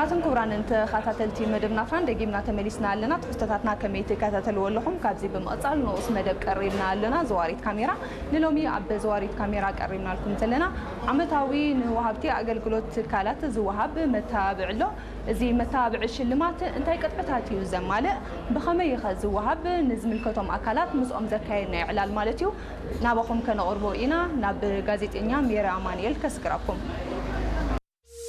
ኣትን ክቡራንን ተኸታተልቲ መደብና ፋን ደጊምና ተመሊስና ኣለና። ትሕዝቶታትና ከመይ ትከታተልዎ ኣለኹም? ካብዚ ብምቕጻል ንኡስ መደብ ቀሪብና ኣለና። ዘዋሪት ካሜራ ንሎሚ ኣብ ዘዋሪት ካሜራ ቀሪብናልኩም ዘለና ዓመታዊ ንወሃብቲ ኣገልግሎት ትካላት ዝወሃብ መተባብዒ ኣሎ። እዚ መተባብዒ ሽልማት እንታይ ቅጥዕታት እዩ ዘማልእ? ብኸመይ ኸ ዝወሃብ? ንዝምልከቶም ኣካላት ምስኦም ዘካየድናዮ ዕላል ማለት እዩ ናባኹም ከነቕርቦ ኢና። ናብ ጋዜጠኛ ሜሪ ኣማኑኤል ከስግረኩም።